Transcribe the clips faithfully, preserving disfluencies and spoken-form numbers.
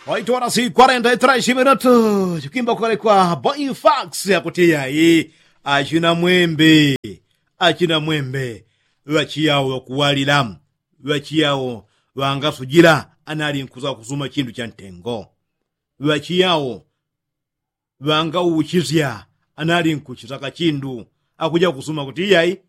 Waitwara si kwarenta itraishi minutu chikwimba kwale kwa boifax. Akuti yayi, achina mwembe, achina mwembe ŵachiyawo ŵakuwalila, ŵachiyawo ŵangasujila anali nkuza kusuma chindu cha ntengo, ŵachiyawo ŵangauchisya anali nkuchisaka chindu. Akuja kusuma kuti iyayi,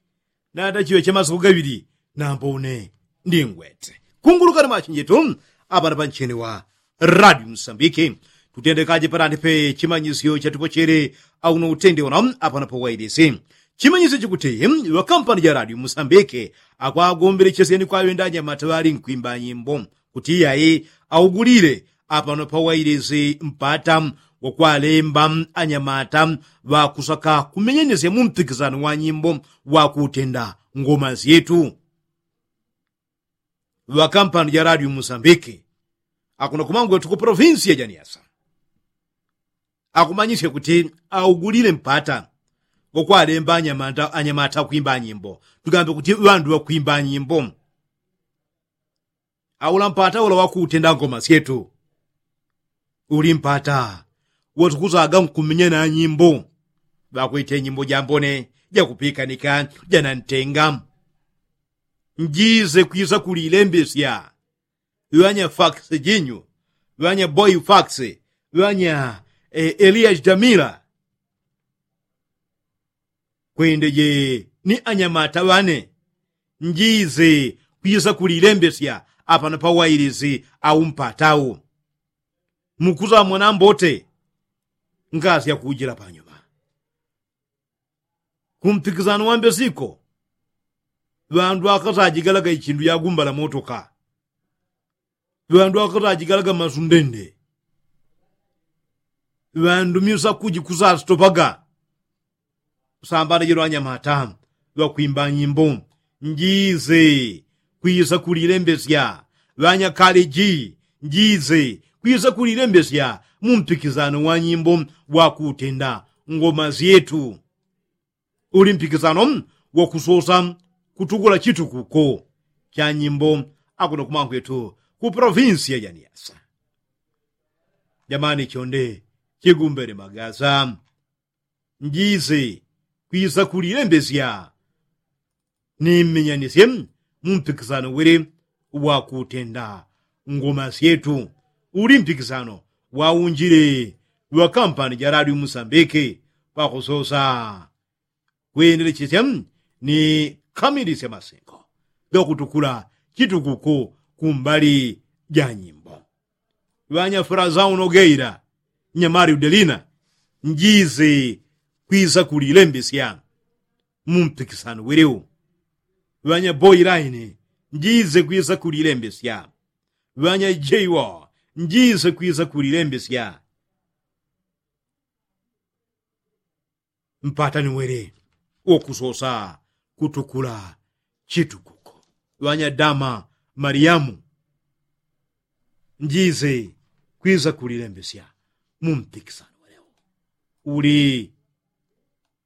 natachiŵe cha masiku gaŵili nambo une ndingwete. Kungulukani machinjitu apana panchini wa radio musambiki. Tutendekaje patandi pe chimanyisyo chatupochele auno utende una apana pawailisi. Chimanyisyo chikuti ŵakampani ja radio musambiki akwagombelechesyeni kwaŵenda anyamata ŵali nkwimba nyimbo kuti iyayi augulile apano pawailisi mpata wakwalemba anyamata ŵakusaka kumenyenesya mu mpikisano wa nyimbo wakutenda ngoma syetu. Ŵakampani ja radio musambiki akuno kumangwetu ku polofinsiya ja niasa akumanyisya kuti augulile mpata wakwalemba anyamata akwimba nyimbo, tugambe kuti ŵandu ŵakwimba nyimbo. Aula mpata ula wakutenda ngoma syetu uli mpata watukuzaga nkumenya na nyimbo. Ŵakwete nyimbo jambone, jakupikanika, janantenga. Njize kwisa kulilembesya ŵanya fax jinyu, ŵanya boifax, ŵanya elias jamila, kwendeje ni anyamata ŵane. Njize kwisa kulilembesya apano pawailisi au mpatau. Mukuzamona mbote ngasya kujila panyuma kumpikisano wambesiko. Ŵandu akasajigalaga ichindu yagumbala motoka, ŵandu akasajigalaga masundende, ŵandu myusa kuji kusasitopaga. Sambana jilo anyamata ŵakwimba nyimbo. Njize kwisa kulilembesya ŵanya kaleji, njize kwisa kulilembesya mu mpikisano wa nyimbo wakutenda ngoma syetu. Uli mpikisano wakusosa kutukula chitukuko cha nyimbo akuno kumangwetu ku polofinsiya ja niasa. Jamani chonde chigumbele magasa. Njize kwisa kulilembesya ni mmenyanisye mu mpikisano wele wakutenda ngoma syetu. Uli mpikisano waunjile ŵakampani ja radio musambiki pakusosa kwendelechesya ni kamilisya masengo gakutukula chitukuko kumbali ja nyimbo. Ŵanya frazau nogeila, nyamali udelina, njize kwisa kulilembesya mu mpikisano wiliu. Ŵanya boilaini, njize kwisa kulilembesya. Ŵanya jeiwo, njize kwisa kulilembesya. Mpata ni wele wokusosa kutukula chitukuko. Ŵanya dama maliamu, njize kwisa kulilembesya mu mpikisano welewo. Uli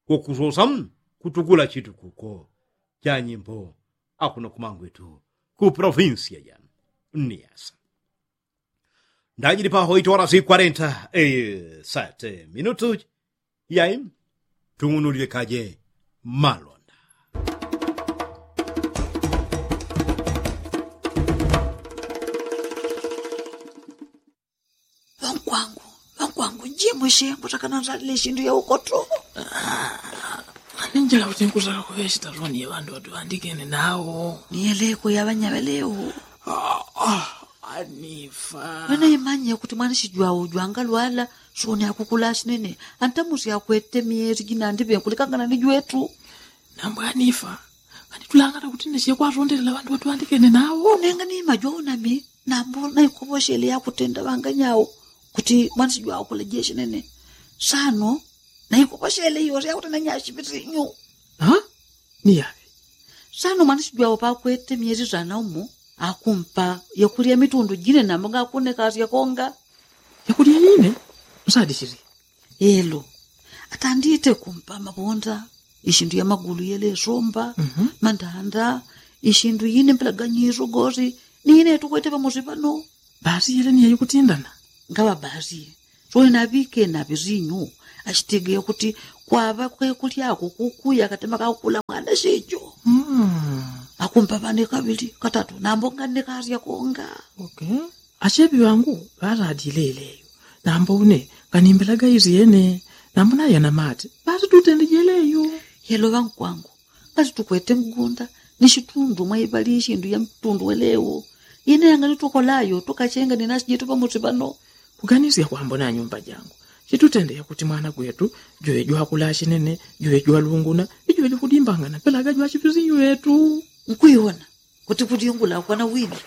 wokusosa kutukula chitukuko cha nyimbo akuno kumangwetu ku polofinsiya ja niasa. Ndajili paho itwala si kwarenta sete minutu. Yai, tung'unulile kaje malonda. Ŵankwangu, ŵankwangu, njimushe ngutakana nzalile shindu ya ukoto. Aninjila kuti nkusaka kuŵechita loni ya ŵandu ŵatuvandikene nawo. Niyeleko ya ŵanyaŵeleo. Anifa. Ŵanaimanye kuti mwanishijwao jwangalwala soni akukula shinene. Antamusi akwete myezi jinandiŵe nkulikangana ni jwetu. Nambo anifa. Kanitulangana kuti ndeshe kwatondelela ŵandu ŵatuvandikene nawo. Nenga ni majwao nami nambo naikoposhele yakutenda ŵanganyao kuti mwanishijwao kula jeshinene. Sano naikoposhele iyose yakutenda nyashipitinyu. Niyaŵe. Sano mwanishijwao pakwete myezi sana umo akumpa yakulya mitundu jine nambo ngakunekasya konga. Yakulya yine? Nsadishili. Elo, atandite kumpa mabonda, ishindu ya magulu yelesomba, mandanda, ishindu yine mpelaganyiso gosi. Nine tukwete pamosi pano. Basi yele niya yukutindana. Ngaŵabasi suli naŵikena ŵizinyu. Asitegeya kuti kwaŵa kwekulyako kukuya katema kakukula mwana sicho. Akumpa ŵane kaŵili katatu nambo nganne kasya konga. Acheŵi ŵangu ŵaladile ileyo. Nambo une nganimbilaga isyene. Nambo nayo namati ŵatitutende jeleyo. Yelo ŵankwangu, ngati tukwete mgunda ni shitundu mwaiŵali ishindu ya mtundu welewo. Ine yangani tukolayo tukachenga ni nasi jetu ŵamusi ŵano. Kuganisya kwambona nyumba jangu chitutende yakuti mwana gwetu jwe jwakula shinene, jwe jwalunguna, ijwe jikudimbangana pelaga jwachipizinyu wetu. Nkuiwona kuti kudingula kwana wini.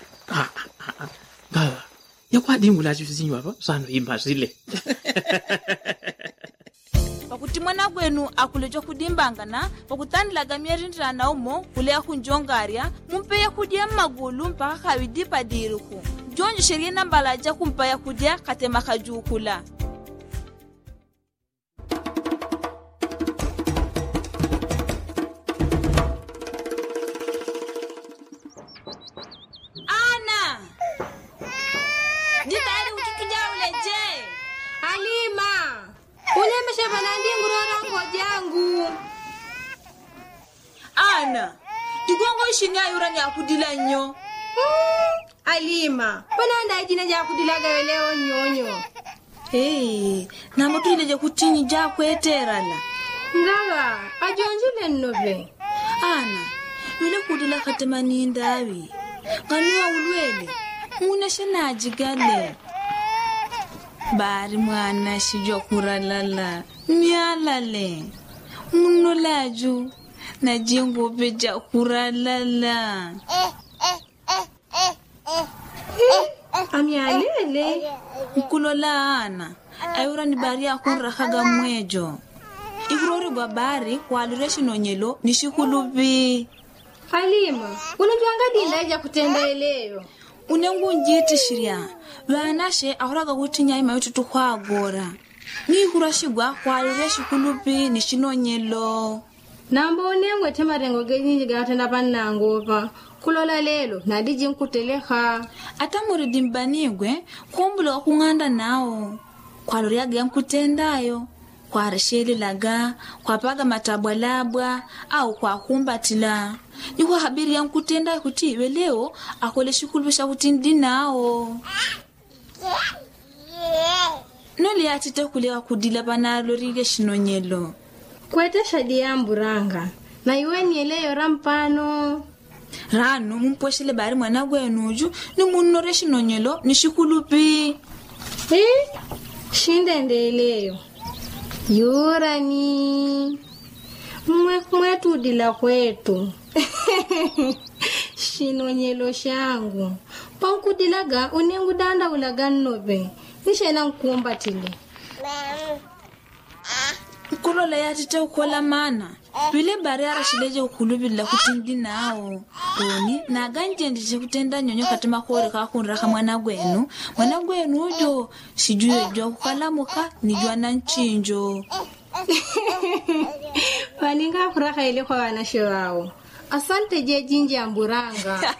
Ngaŵa yakwadingula achipizinyu aŵa sano imasile. Pakuti mwana gwenu akuleja kudimbangana pakutandilaga myerindilana umo kuleya kunjongarya, mumpe yakudya mmagulu mpaka kaŵidi padiriku. Jonjesherye nambala jakumpa yakudya katema kajukula. Ana, jitayali kuti tujaule je? Alima, unyemeshe ŵanandi ngulora ngojangu. Ana, jigongo ishini ayura nyakudila nyo. Alima, ŵanandi aijine jakudilaga yelewo nyonyo. Nambo tujileje kutinyi jakweterana. Ngaŵa ajonjile nnoŵe. Ana, ŵile kudila katema ni ndaŵi. Nganuwa ulwele, muneshe najigale. Bari mwana shijwa kuralala, myalale. Munolaju najinguŵe jakuralala. Amyalele. Nkulola ana, ayura ni bari akunrakaga mwejo. Ikuloregwa bari kwalire shinonyelo ni shikuluŵi. Alima, unojwangadinda ija kutenda eleyo. Une ngunjitishirya ŵanashe ahulaga kuti nyaima yututukwagora. Ni ikurashigwa kwalire shikuluŵi ni shinonyelo. Nambo une ngwete marengo gejinji gatenda ŵannangu ŵa kulola lelo nadiji nkuteleka. Ata muridi mbanigwe kumbula wakung'anda nao. Kwaloryaga yankutendayo, kwareshelelaga, kwapaga matabwalabwa au kwakumbatila. Ni kwahabiri yankutendayo kuti iŵe leo akole shikuluŵi shakuti ndi nao. Nole yatite kuleka kudila ŵanalorile shinonyelo. Kwete shadi yamburanga na iweni eleyo rampano. Rano mumpweshele bari mwana gwenuju ni munnore shinonyelo ni shikuluŵi. Shindendeleyo yurani. Mwe mwetudila kwetu. Shinonyelo shangu pankudilaga une ngudandaulaga nnoŵe. Nishena nkumbatile. Nkulola yatite ukola mana. Ŵile bari arashileje ukuluŵilila kuti ndi nao. Uni naganjendeje kutenda nyonyo katema kore kakunraka mwana gwenu. Mwana gwenu ujo sijue jwakukalamuka ni jwana nchinjo. Ŵaninga akuraka ile kwa ŵanashe ŵao. Asante jejinji amburanga.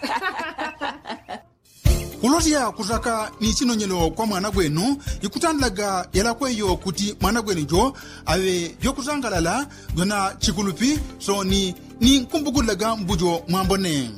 Kulosya kusaka ni chinonyelo kwa mwana gwenu ikutandilaga yalakweyo kuti mwana gwenu jo aŵe jwakusangalala jwana chikulupi. Soni ni nkumbukulilaga mbujo mwambone.